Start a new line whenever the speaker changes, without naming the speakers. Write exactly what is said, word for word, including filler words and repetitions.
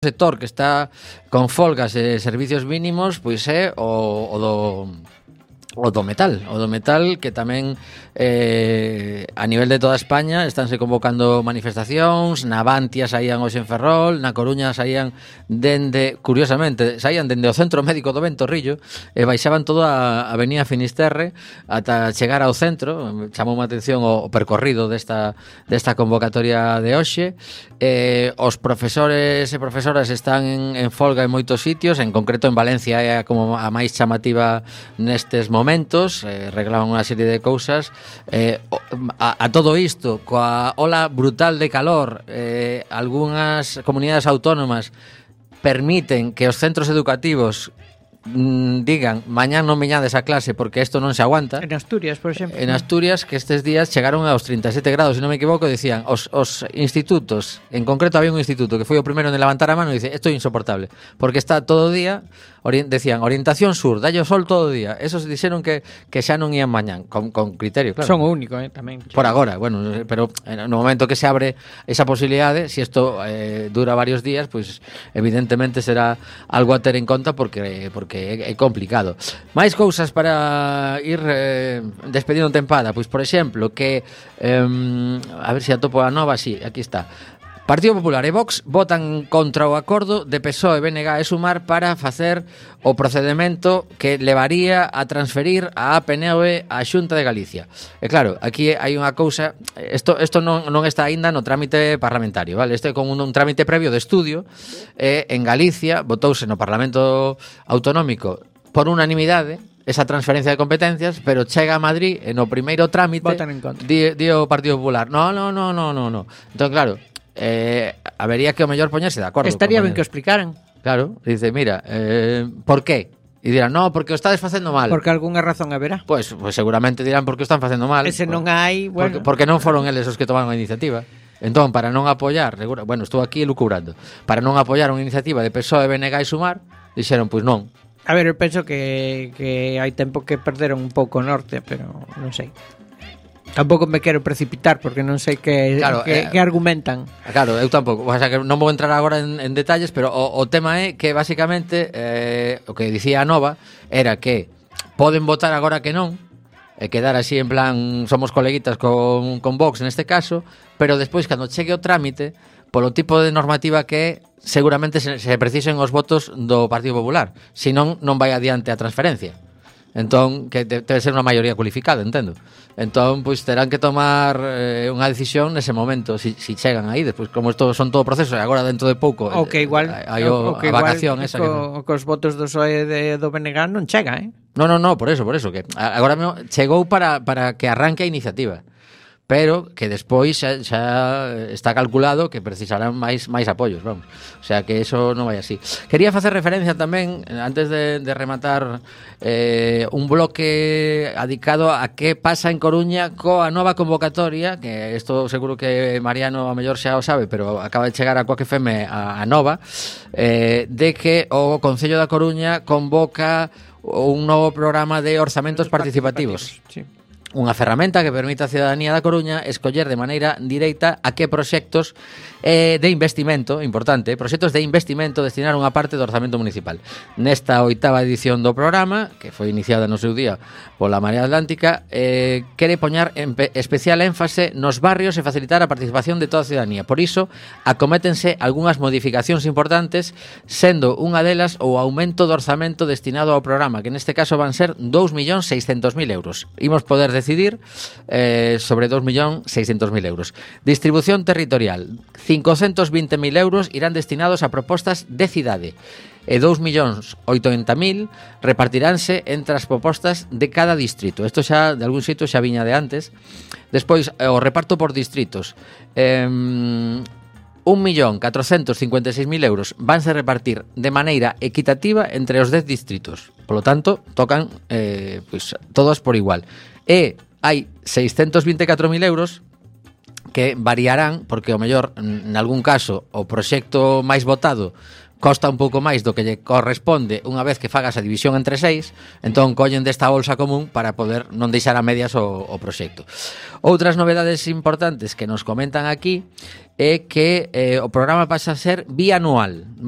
sector que está con folgas de servicios mínimos, pois é o, o do o do metal, o do metal que tamén eh, a nivel de toda España estánse convocando manifestacións, na Bantia saían hoxe en Ferrol, na Coruña saían dende, curiosamente, saían dende o Centro Médico do Ventorrillo e baixaban toda a Avenida Finisterre ata chegar ao centro. Chamou a atención o, o percorrido desta, desta convocatoria de hoxe. Eh, os profesores e profesoras están en, en folga en moitos sitios, en concreto en Valencia é como a máis chamativa nestes momentos, eh, reglaban unha serie de cousas. Eh, a, a todo isto, coa ola brutal de calor, eh, algunhas comunidades autónomas permiten que os centros educativos mm, digan mañán non veñades a clase porque isto non se aguanta.
En Asturias, por exemplo.
En Asturias, que estes días chegaron aos trinta e sete grados, se non me equivoco, dicían os, os institutos, en concreto había un instituto que foi o primeiro en levantar a mano e dice, isto é insoportable, porque está todo o día, ori decían, orientación sur, dalle o sol todo o día. Esos dixeron que, que xa non ían mañán, con, con criterio, claro.
Son o único, eh, tamén.
Por agora, bueno, pero no momento que se abre esa posibilidade, se si isto eh, dura varios días, pois pues, evidentemente será algo a ter en conta porque porque é, é complicado. Mais cousas para ir eh, despedindo tempada, pois por exemplo, que eh, a ver se atopo a nova, si, sí, aquí está. Partido Popular e Vox votan contra o acordo de P S O E, B N G e Sumar para facer o procedemento que levaría a transferir a A P N E á Xunta de Galicia. E claro, aquí hai unha cousa, isto, isto non, non está aínda no trámite parlamentario, vale? Isto é con un, un trámite previo de estudio, e en Galicia votouse no Parlamento Autonómico por unanimidade esa transferencia de competencias, pero chega a Madrid e no primeiro trámite di, di o Partido Popular no, no, no, no, no, no. Entón, claro, eh, habería que o mellor poñerse de acordo.
Estaría ben que o explicaran.
Claro, dice, mira, eh, por qué? E dirán, no, porque o estades facendo mal.
Porque algunha razón haberá.
Pois pues, pues seguramente dirán porque o están facendo mal.
Ese non hai,
Porque,
bueno.
porque non foron eles os que tomaron a iniciativa. Entón, para non apoiar, bueno, estou aquí lucubrando, para non apoiar unha iniciativa de P S O E, B N G e Sumar, dixeron, pois pues non.
A ver, eu penso que, que hai tempo que perderon un pouco o norte, pero non sei. Tampouco me quero precipitar porque non sei que,
claro,
que,
eh,
que argumentan.
Claro, eu tampouco, o sea, que non vou entrar agora en, en detalles, pero o, o tema é que basicamente eh, o que dicía a Nova era que poden votar agora que non e quedar así en plan somos coleguitas con, con Vox neste caso, pero despois cando chegue o trámite, polo tipo de normativa que é, seguramente se, se precisen os votos do Partido Popular, senón non vai adiante a transferencia. Entón, que debe ser unha maioría cualificada, entendo. Entón, pois terán que tomar eh, unha decisión nese momento, si, si chegan aí, despois como isto son todo proceso, e agora dentro de pouco
o que igual
hai o,
o que
a vacación
igual,
esa
co,
que
cos votos do P S O E de, do B N G non chega, eh?
No, no, no, por eso, por eso que agora mesmo chegou para, para que arranque a iniciativa, pero que despois xa, xa está calculado que precisarán máis máis apoios, vamos. O sea, que eso non vai así. Quería facer referencia tamén, antes de, de rematar, eh, un bloque adicado a que pasa en Coruña coa nova convocatoria, que isto seguro que Mariano a mellor xa o sabe, pero acaba de chegar a Coac F M a, a nova, eh, de que o Concello da Coruña convoca un novo programa de orzamentos participativos.
Sí.
Unha ferramenta que permite á cidadanía da Coruña escoller de maneira directa a que proxectos eh, de investimento, importante, proxectos de investimento destinar unha parte do orzamento municipal. Nesta oitava edición do programa, que foi iniciada no seu día pola Marea Atlántica, eh, quere poñar en especial énfase nos barrios e facilitar a participación de toda a cidadanía. Por iso, acométense algunhas modificacións importantes, sendo unha delas o aumento do orzamento destinado ao programa, que neste caso van ser dous millóns seiscentos mil euros. Imos poder decidir eh, sobre dous millóns seiscentos mil euros. Distribución territorial, cincocentos vinte mil euros irán destinados a propostas de cidade e dous millóns oitenta mil repartiránse entre as propostas de cada distrito. Isto xa, de algún sitio, xa viña de antes. Despois, o reparto por distritos. Eh, un millón catrocentos cincuenta e seis mil euros vanse repartir de maneira equitativa entre os dez distritos. Por lo tanto, tocan eh, pues, todos por igual. E hai seiscentos vinte e catro mil euros que variarán, porque o mellor, en algún caso, o proxecto máis votado costa un pouco máis do que lle corresponde unha vez que fagas a división entre seis, entón collen desta bolsa común para poder non deixar a medias o, o proxecto. Outras novedades importantes que nos comentan aquí é que eh, o programa pasa a ser bianual, vale?